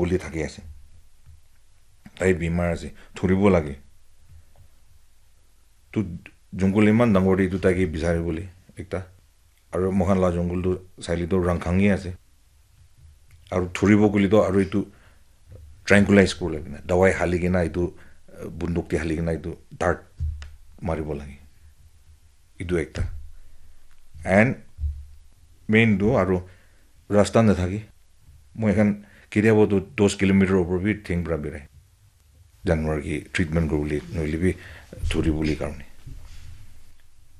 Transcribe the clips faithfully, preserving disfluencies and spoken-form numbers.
buli thaki ase. Tai bimar ase, thuribo lage. Tu jungle iman dangor te etu tai ke bisari bole ekta. Aru moikhan la jungle tu saile tu rangkhangi ase. Aru thuribo koile tu aru etu tranquilize kuri lage na, dawai hali kena etu, eh, bunduk te hali kena etu dart maribo lage. Etu ekta. And main tu aru rasta nathake. Moi khan ketiaba tu dos kilometer opor bi theng pra birai. Janwar ke treatment kuribole nohoile bi thuribole karne.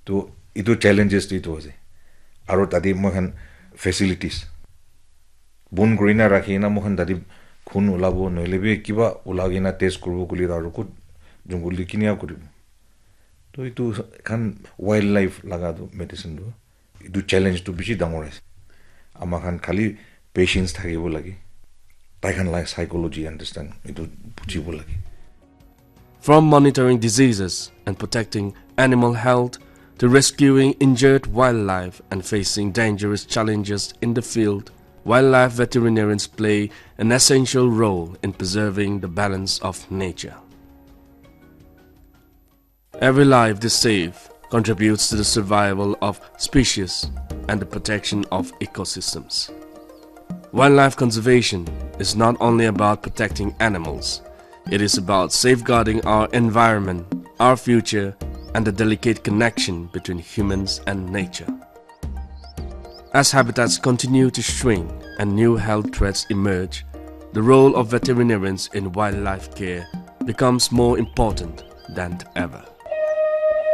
To etu challenges tu etu ase. Aru tate moi khan facilities. Bon kuri na rakhi na moi khan tate khun ulabo nohoile bi kiba ulai kena test kuribo koile aru kot jungle te kinia kuribo. To etu khan wildlife laga tu medicine tu. Etu challenge tu bishi dangor ase. Ama khan khali patience thakibo lage. Tai khan la psychology understand etu bujibo lage. From monitoring diseases and protecting animal health to rescuing injured wildlife and facing dangerous challenges in the field, wildlife veterinarians play an essential role in preserving the balance of nature. Every life they save contributes to the survival of species and the protection of ecosystems. Wildlife conservation is not only about protecting animals, it is about safeguarding our environment, our future, and the delicate connection between humans and nature. As habitats continue to shrink and new health threats emerge, the role of veterinarians in wildlife care becomes more important than ever.